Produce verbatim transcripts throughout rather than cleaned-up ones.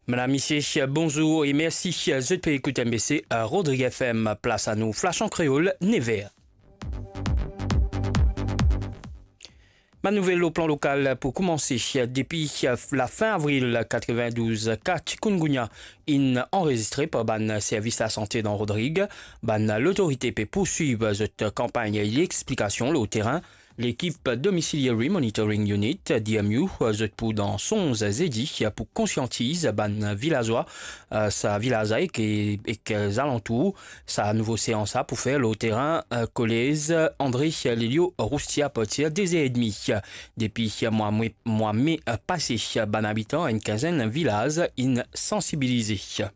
Madam, misie, bonzour e mersi zot pe ekout M B C Rodrig F M. Plas anou, Flash an Kreol, nev er. Bann nouvel lor plan lokal pou koumanse. Depi lafin avril katrevin-douz, ka chikungunya inn anrezistre par bann servis lasante dan Rodrig. Bann lotorite pe pourswiv zot kanpagn lexplikasion lor terin. Lekip Domiciliary Monitoring Unit, D M U, zot pou dan sonz zedi pou konsiantiz bann vilazwa, eh, sa vilaz la ek, ek zalantour. Sa nouvo seans la pou fer lor terin, eh, kolez André Lelio Roustier apartir de zer edmi. Depi mwa me, mwa me, eh, pase, bann abitan enn kinzenn vilaz inn sansibilize.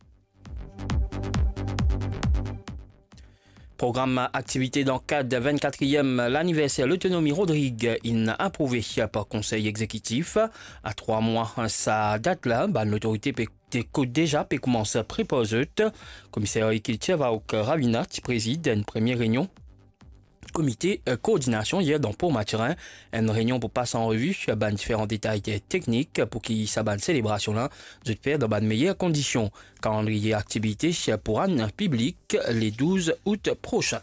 Program aktivite dan kad vinn-katriem laniverser lotonomi Rodrig inn aprouve par Konsey Egzekitif. A trwa mwa sa dat la, bann lotorite pe, te ko-, deza pe koumans prepar zot. Komiser Kiltir Vaouk Ravina ti prezid enn premie reynion komite, eh, koordinasion yer dan Port Mathurin, enn reynion pou pas an revi bann diferan detay teknik pou ki sa bann selebrasion la zot fer dan bann meyer kondision. Kalandriye aktivite pou rann piblik le douz out prosin.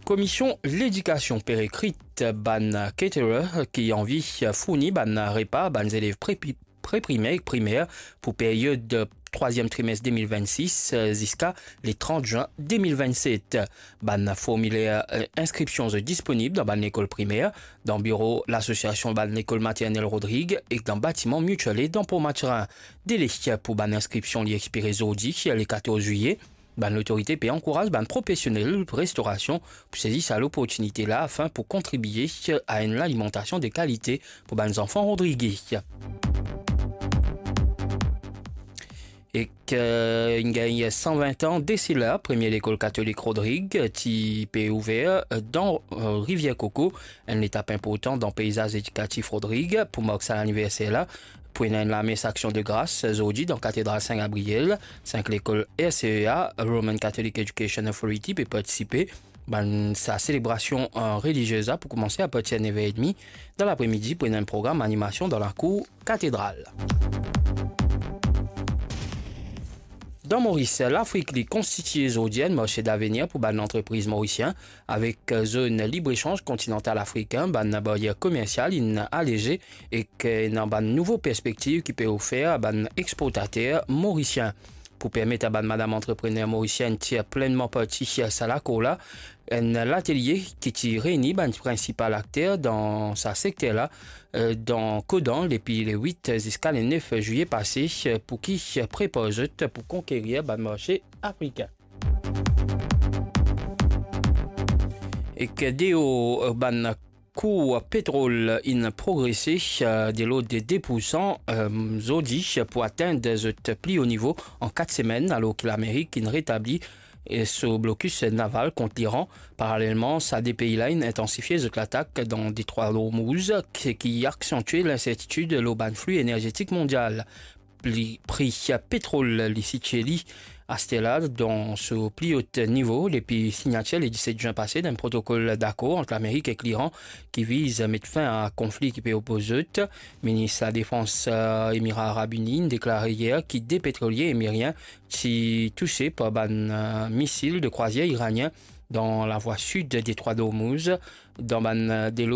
Komision Ledikasion pe rekrit bann caterer ki anvi fourni bann repa bann zelev pre-, pre-primer ek primer pou period trwaziem trimes de mil vinn-sis, eh, ziska le trant zin de mil vinn-set. Bann formiler, eh, inskripsion zot disponib dan bann lekol primer, dan biro Lasosiasion Bann Lekol Maternel Rodrig ek dan batiman Mutual Aid dan Port Mathurin. Dele pou bann inskripsion li expire zordi, le katorz zwiye. Bann lotorite pe ankouraz bann profesionel restorasion pou sezi sa loportinite la afin pou kontribie a enn lalimantasion de kalite pou bann zanfan rodrigez. Ek, eh, inn gagn san vin an de sela, premie lekol katolik Rodrig ti pe ouver, eh, dan, eh, Rivier Koko, enn letap inportan dan peizaz edikatif Rodrig. Pou mark sa laniverser la, pou ena enn lames Aksion de Gras zordi dan Katedral Sin Gabriel, sink lekol R C E A, Roman Catholic Education Authority, pe partisipe. Bann sa selebrasion, eh, reliziez la pou koumanse apartir nev er edmi dan lapremidi pou ena enn program animasion dan lakour katedral. Dan Moris, Lafrik li konstitie zordi enn marse davenir pou bann lantrepriz morisien, avek zone libre-echanj kontinantal afrikin, bann baryer komersial inn aleze ek ena bann nouvo perspektiv ki pe ofer a bann exportater morisien. Pou permet a bann madam antreprener morisienn tir plennman parti sa lakour la, enn latelie ki ti reyni bann prinsipal akter dan sa sekter la, eh, dan Kodan, depi le wit ziska le nef zwiye pase, eh, pou ki prepar zot pou konkerir bann marse afrikin. Ek deor, eh, bann kour petrol inn progrese, eh, de lord de de poursan, eh, zordi pou atenn zot pli o nivo an kat semenn, alor ki Lamerik inn retabli, eh, so blokis naval kont Liran. Paralelman, sa de pei la inn intansifie zot latak dan Detrwa Hormuz, ki, ki aksantie linsertitid lor bann fli enerzetik mondial. Pli, pri petrol li sitie li aster la dan so pli o nivo depi signatir le diset zin pase dan enn protokol dakor ant Lamerik ek Liran ki viz met fin a konfli ki pe opoz zot. Minis ladefans, eh, Emira Arab Ini inn deklare yer ki de petrolie emirien ti touse par bann, eh, misil de krwazier iranien dan lavwa sid Detrwa Hormuz, dan bann, eh, delo